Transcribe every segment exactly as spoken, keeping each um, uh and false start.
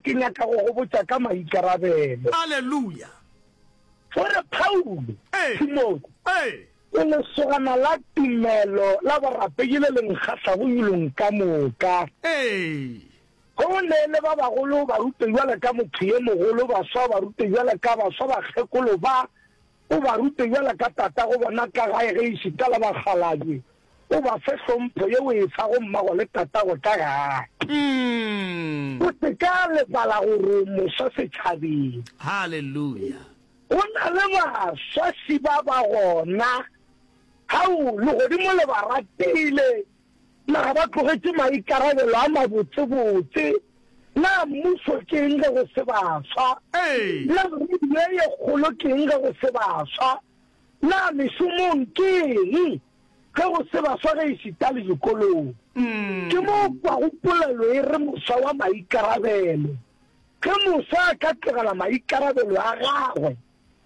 Ke nyaka go go botša ka maikarabelo. Aleluya. O re, Paulo, Ee. Timotheo, Ee. o lesogana la tumelo la borapedi le le nkgahlago yulong ka moka. Ee. Ge o neele ba bagolo o ba rute bjalo ka motho ye mogolo, baswa o ba rute bjalo ka baswa, bakgekolo ba o ba rute bjalo ka tatago bona ka gae, ge ešita le bakgalabje o ba fe hlompho ye o e fago mmago le tatago ka gae. O se ka lebala gore o moswa setšhabeng. Haleluya. Go na le baswa šiba ba gona. Hao, legodimo le ba ratile. Na ba tlogetše maikarabelo a mabotsebotse? Na mmušo ke eng ge go se baswa? Ee. Na radio ye kgolo ke eng ge go se baswa? Na mešomong ke eng ge go se baswa ge ešita le dikolong? Ke mo o kwago polelo e re moswa wa maikarabelo. Ge moswa a ka tlogela maikarabelo a gagwe,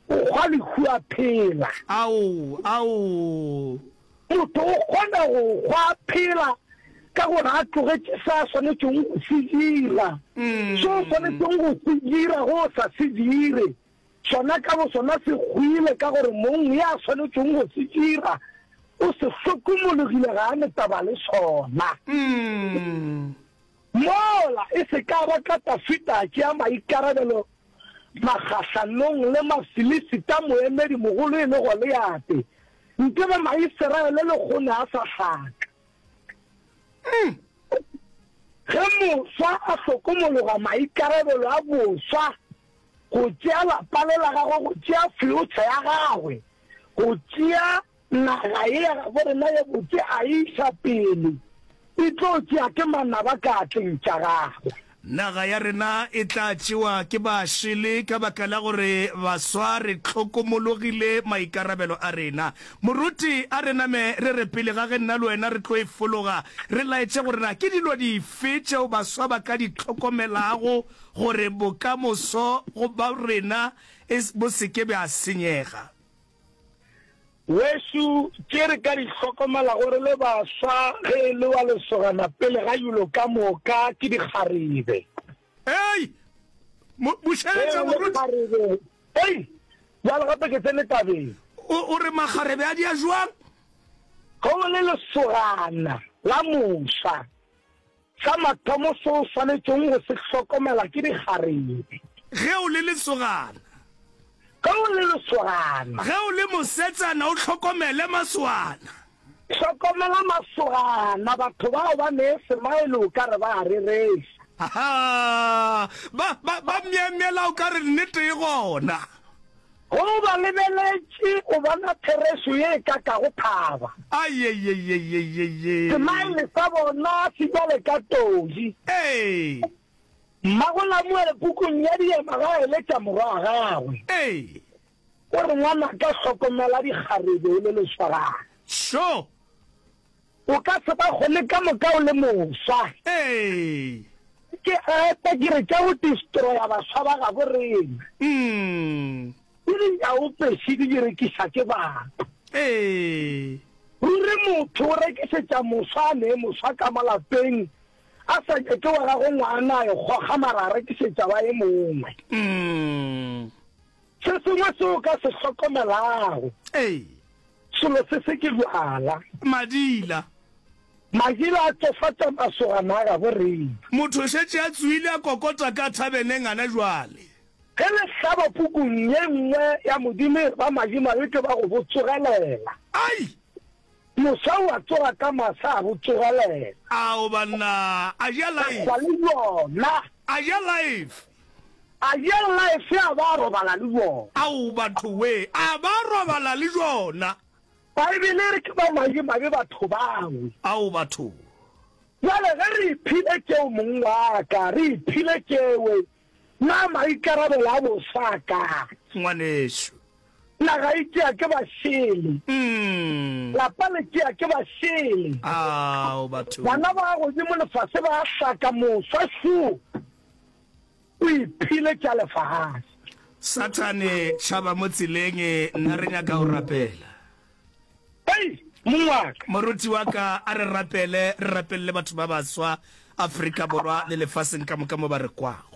o hwa lehu a phela. Ao, ao. Motho o kgona go hwa a phela ka gore a tlogetše se a swanetšego go se dira. Se o swanetšego go se dira ge o sa se dire, sona ka bosona se hwile ka gore mong ya swanetšego go se dira o se hlokomologile, ga a ne taba le sona. Mola e se ka ba ka Dafida a tšea maikarabelo magahlanong le Mafilisita, moemedi mogolo e le Goliate, nke be Maiseraele lehono a sa hlaka. Ge moswa a hlokomologa maikarabelo a boswa, go tšea lapa le la gagwe, go tšea future ya gagwe, go tšea naga ye ya gabo rena ye botse a e iša pele, e tlo tšea ke manaba ka atleng tša gagwe. Naga ya rena e tla tšewa ke bašele ka baka la gore baswa re hlokomologile maikarabelo a rena. Moruti, a re name re re pele ga ge nna le wena re tlo e fologa, re laetše gore na ke dilo dife tšeo baswa ba ka di hlokomelago gore bokamoso go ba rena e bo se ke bja senyega. Wešu, tše re ka di hlokomelago re le baswa ge e le wa lesogana pele ga yulo ka moka ke dikgarebe. Ei! Mo, Ge bušeletša e le moruti. kgarebe, ei! Bjale gape ke tsene tabeng. O, o re makgarebe a dia jwang? Ge o le lesogana la moswa, Sa mathomo se o swanetšego go se hlokomela ke dikgarebe. Ge o le lesogana. Ge o le lesogana. Ge o le mosetsana o hlokomele masogana. Hlokomela masogana, batho bao ba nee semaele o ka re ba a rereša. Ahaa, ba, ba, ba myemyela o ka re nnete e gona. Ge o ba lebeletše, o bona therešo ye e kakago thaba. Ayeyeyeyeyeye. Semaele sa bona se bjale ka todi. Ee. Mmago Lamuele pukung ya Diema ga a eletša morwa wa gagwe. Ee. O re, Ngwanaka, hlokomela dikgarebe o le lesogana. Sho! O ka se ba kgone ka moka o le moswa. Ee. Ke epa ke re tša go destroya baswa ba gabo rena. Mm. Ke dinyaopeši di di rekiša ke batho. Ee. Ruri motho o rekišetša moswa a nee moswa ka mo lapeng a sa nyake wa gagwe ngwana a e goga mara a rekišetša wa e mongwe. Mm. Se sengwe se o ka se hlokomelago. Ee. Selo se se ke bjala. Madila. Madila a tšofatša masogana a gabo rena. Motho o šetše a tsoile a kokota ka thabeneng gana jwale. Ge le hlaba pukung ye nngwe ya Modimo e re ba madimabe ke ba go bo tsogelela. Ai! Moswa o a tsoga ka masa a bo tsogelela. Ao banna, a ja A life. hwa le bjona. A ja life. A ja life a ba a robala le bjona. Ao batho we, a ba a robala le bjona. Baebele e re ke ba madimabe batho bao. Ao batho. Bjale ge re iphile tšeo mong wa ka, re iphile tšewe, na maikarabelo a boswa a kae? Ngwanešu. Naga e tšea ke bašele. Lapa le tšea ke bašele. Ao batho. Bana ba godimo lefase ba hlaka moswa šo o iphile tša lefase. Sathane tšhaba mo tseleng nna re nyaka go rapela. Hei mong wa ka. Moruti wa ka a re rapele re rapelele batho ba baswa Afrika Borwa le lefaseng ka moka mo ba re kwago.